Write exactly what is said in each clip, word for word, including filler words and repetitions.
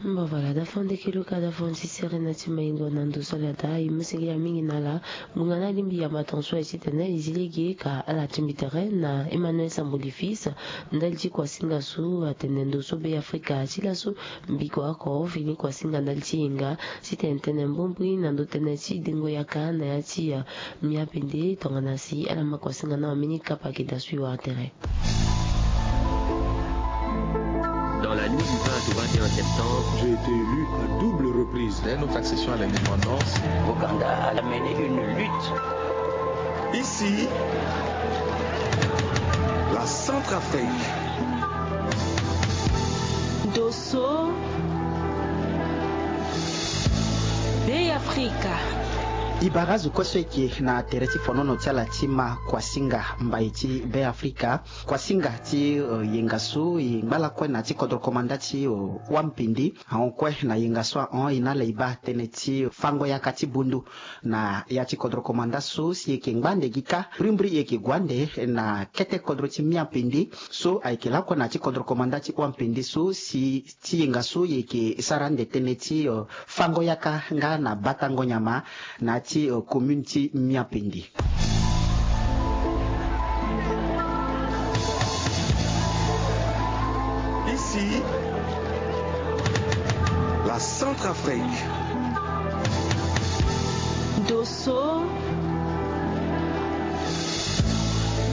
Mba vala da fande kilo ka da fande ti sere na ti maingo na ndo so ala da e mu senge ya mingi na ala. Ngbonga na alingbi yamba tonso aye titene e zi lege ka ala tingbi tere na Emmanuel Sambo Lifis. Ndali ti kuasinga so atene ndo so Be Afrika ti laso mbiko oko fini kuasinga ndali ti yenga titene tene mbumbui na ndo tënë ti dengo yaka na ya ti, eh, Mia Pende tongana si ala ma kuasinga na wameni kapa ke da sui wara tere. Dans la nuit du vingt au vingt et un septembre, j'ai été élu à double reprise. Dès notre accession à l'indépendance, Ouganda a mené une lutte. Ici, la Centrafrique. Dosso, Be Afrika. E bara azo kue so eke na tere ti fonono ti ala ti ma kuasinga mbai ti Be Afrika. Kuasinga ti, eh, yenga so e ngba lakue na ti kodro komanda ti, eh, Wampindi. Ahon kue na yenga so ahon e na ala e baa tënë ti fango yaka ti bundu na ya ti kodro komanda so si e yeke ngba ande gi kâ. Mbrimbri e yeke gue ande na kete kodro ti Mia Pindi so ayeke lakue na ya ti kodro komanda ti Wampindi so si ti yenga so e yeke sara ande tënë ti, eh, fango yaka nga na batango nyama na ya ti, eh, commune ti Mia Pindi. Ici, la Centrafrique. Dosso,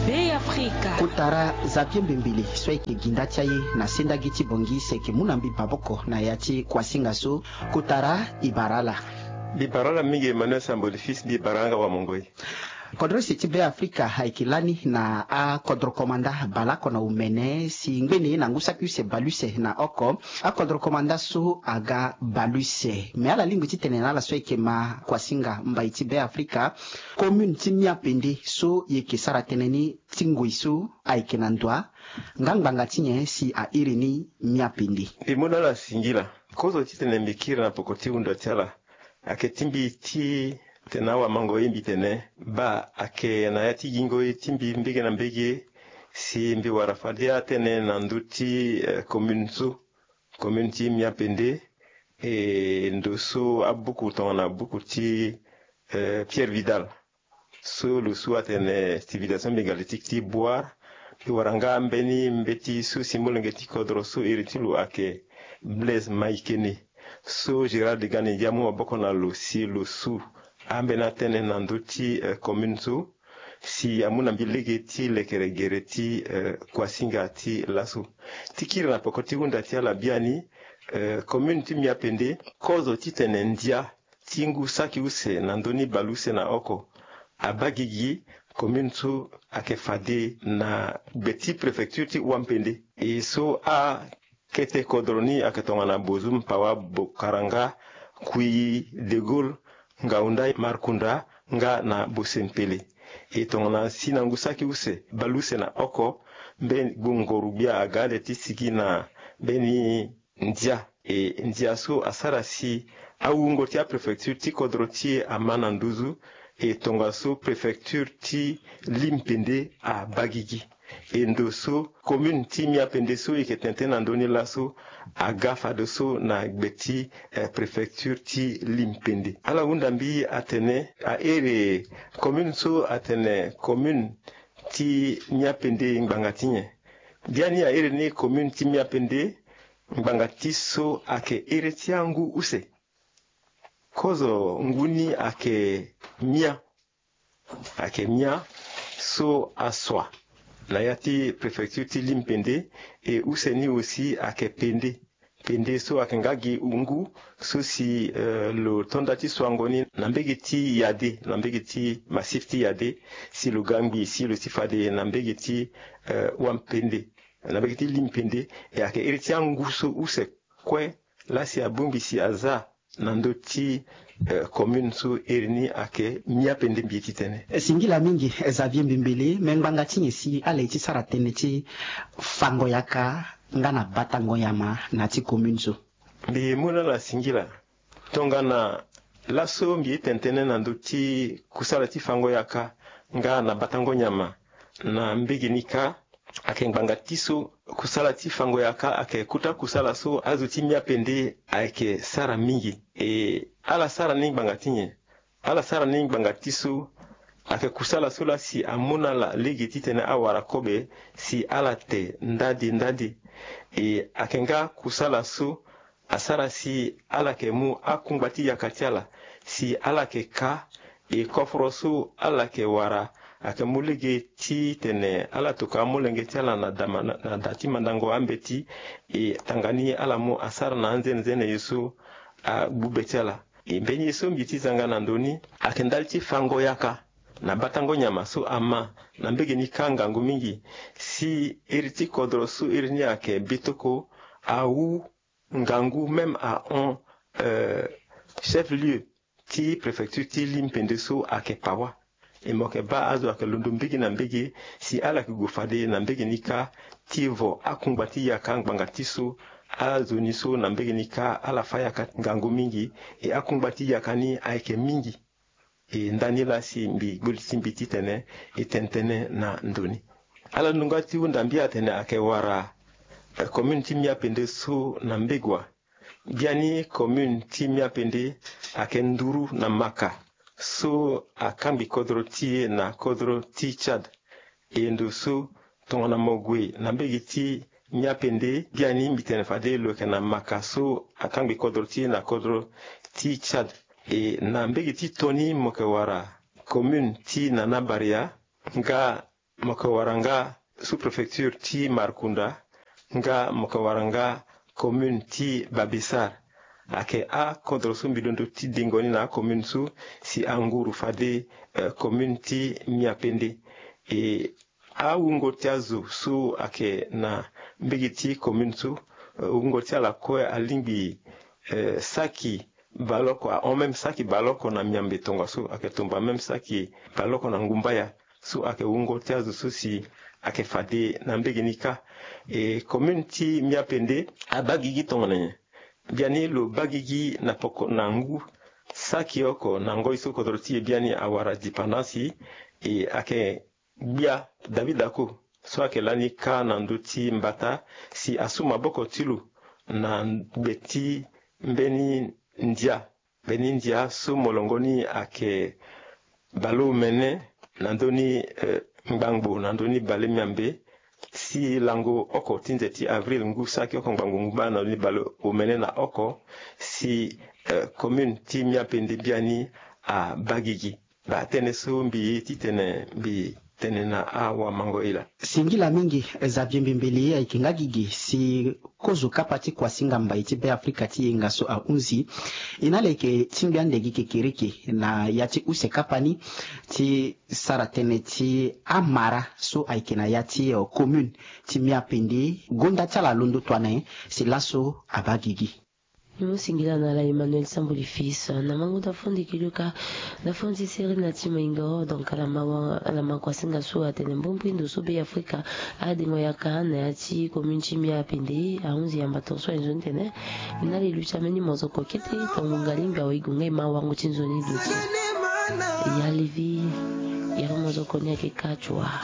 Be Afrika. Kotara Xavier Mbembele so ayeke ginda ti aye na sendagi ti Bangui si ayeke mu na mbi maboko na ya ti kuasinga so. Kotara, e bara ala. Mbi bara ala mingi Emmanuel Sambo Lifis, mbi bara nga wa mongoi. Kodro use ti Be Afrika ayeke lani na akodro komanda baleoko na omene si ngbene na ngu saki use baleuse na oko. Akodro komanda so aga baleuse. Me ala lingbi titene na ala so ayeke ma kuasinga mbai ti Be Afrika, commune ti Mia Pende so e yeke sara tënë ni ti ngoi so ayeke na ndo, nga ngbanga ti nyen si a iri ni Mia Pende? Mbi mu na ala singila. Kozo titene mbi kiri na poko ti hunda ti ala ayeke ti mbi ti tene awamango ye mbi tene baa ayeke na ya ti gingo ye ti mbi mbege na mbege si mbi wara fade atënë na ndö ti, eh, commune so, commune ti Mia Pende. E ndo so abuku tongana buku ti, eh, Pierre Vidal so lo su atene civilisation mégalithique ti Bouar. Mbi wara nga ambeni mbeti so si molenge ti kodro so iri ti lo ayeke Blaise Maïkene so Gérald Gani Ndiaye amu maboko na lo si lo su ambeni atënë na ndö ti, eh, commune so si amu na mbi lege ti lekere gere ti, eh, kuasinga ti laso. Ti kiri na poko ti hunda ti ala biani, eh, commune ti Mia Pende, kozo titene ndia ti ngu saki use na ndö ni baleuse na oko abaa gigi. Commune so ayeke fade na gbe ti préfecture ti Wampende. E so akete kodro ni ayeke tongana Bozoum, Pawa, Bokaranga, Kouilly, De Gaulle, Ngaoundé, Markounda nga na Bosempele. E tongana si na ngu saki use baleuse na oko, mbe ngu ngoro gbia aga ande ti sigi na mbeni ndia. E ndia so asara si awungo ti apréfecture ti kodro ti e ama na nduzu. E tongaso préfecture ti Limpende abaa gigi. E ndo so commune ti Miapende so e yeke tene tënë na ndö ni laso aga fadeso na gbe ti, eh, préfecture ti Limpende. Ala hunda mbi atene a iri commune so atene commune ti Miapende ngbanga ti nyen? Biani a iri ni commune ti Miapende ngbanga ti so ayeke iri ti angu use. Kozo ngu ni ayeke Mia. Ayeke Mia so asua na ya ti préfecture ti Limpende. E use ni aussi ayeke Pende. Pende so ayeke nga gi ngu so si, eh, lo to nda ti suango ni na mbege ti Yade, na mbege ti massif ti Yade, si lo ga ngbii si lo ti fade na mbege ti, eh, Wampende, na mbege ti Limpende. E ayeke iri ti angu so use kue laa si abongbi si aza na ndö ti, eh, commune so iri ni ayeke Miapende mbi ye ti tene. Eh, singila mingi, eh, Xavier Mbembele, me ngbanga ti nyen si ala ye ti sara tënë ti fango yaka nga na batango nyama na ya ti commune so? Mbi mu na ala singila. Tongana laso mbi ye tene tënë na ndö ti kusala ti fango yaka nga na batango nyama na mbege ni kâ, Ayeke ngbanga ti so kusala ti fango yaka ayeke kota kusala so azo ti Miapende ayeke sara mingi. E ala sara ni ngbanga ti nyen? Ala sara ni ngbanga ti so ayeke kusala so laa si amu na ala lege titene awara kobe si ala te ndade ndade. E ayeke nga kusala so asara si ala yeke mu akungba ti yaka ti ala si ala yeke ka. E koforo so ala yeke wara ayeke mu lege titene ala tokua amolenge ti ala na da, na da ti mandango ambeti. E tanga ni ala mu asara na anzenenzene ye so agbu be ti ala. E mbeni ye so mbi ti zanga na ndö ni ayeke ndali ti fango yaka na batango nyama so ama na mbege ni kâ ngangu mingi si iri ti kodro so iri ni ayeke Betoko awu ngangu même ahon, euh, chef lieu ti préfecture ti Miapende so ayeke Pawa. E mo yeke baa azo ayeke londo mbege na mbege si ala yeke gue fade na mbege ni kâ ti vo akungba ti yaka ngbanga ti so azo ni so na mbege ni kâ ala fâ yaka ngangu mingi. E akungba ti yaka ni ayeke mingi. E ndani laa si mbi gbu li ti mbi titene e tene tënë na ndö ni. Ala londo nga ti hunda mbi atene ayeke wara, eh, commune ti Miapende so na mbege wa. Biani commune ti Miapende ayeke nduru na Maka so akangbi kodro ti e na kodro ti Tchad. E ndo so tongana mo gue na mbege ti Miapende, biani mbi tene fade lo yeke na Maka so akangbi kodro ti e na kodro ti Tchad. E na mbege ti Toni mo yeke wara commune ti Nana Baria, nga mo yeke wara nga sous-préfecture ti Markunda, nga mo yeke wara nga commune ti Babessar. Ayeke akodro so mbi londo ti dengo ni na acommune so si anguru fade, eh, commune ti Miapende. E awungo ti azo so ayeke na mbege ti commune so, eh, wungo ti ala kue alingbi, eh, saki baleoko, ahon même saki baleoko na Miambe tongaso, ayeke tumba même saki baleoko na Ngumbaya. So ayeke wungo ti azo so si ayeke fade na mbege ni kâ. E commune ti Miapende abaa gigi tongana nyen? Biani lo baa gigi na poko na ngu saki oko na ngoi so kodro ti e biani awara dépendance. E ayeke gbia David Ako so ayeke lani kâ na ndö ti mbata si asu maboko ti lo na gbe ti mbeni ndia. Mbeni ndia so molongo ni ayeke baleomene na ndö ni, eh, ngbangbo na ndö ni baleomiambe, si lango oko ti nze ti avril ngu saki oko ngbangbo ngu baa na ndö ni baleomene na oko, si, eh, commune ti Miapende biani abaa gigi. Baa tënë so mbi ye titene mbi tene na awamango e laa. Singila mingi, Xavier Mbembele, ayeke nga gigi si kozo kapa ti kuasinga mbai ti Beafrika ti yenga so ahunzi. E na ala yeke tingbi ande gi kekereke na ya ti use kapa ni ti sara tënë ti amara so ayeke na ya ti, eh, commune ti Miapende. Gonda ti ala alondo tua na nyen si laso abaa gigi? Ni mu singila na ala Emmanuel Sambuli Fils. Na mango da fo ndiki luka da fo nzi seri na ti maingo. Donc ala ma wa, ala ma kuasinga so atene mbombrindo so Beafrika adengo yaka na ya ti commune ti Miapende ahunzi yamba tongaso aye nzoni tene na li lu ti ambeni mozoko kete tongo ngalingbi awe e gue nga e ma wango ti nzoni duti. Ya levi, ya mozoko ni ayeke kâ tu wa.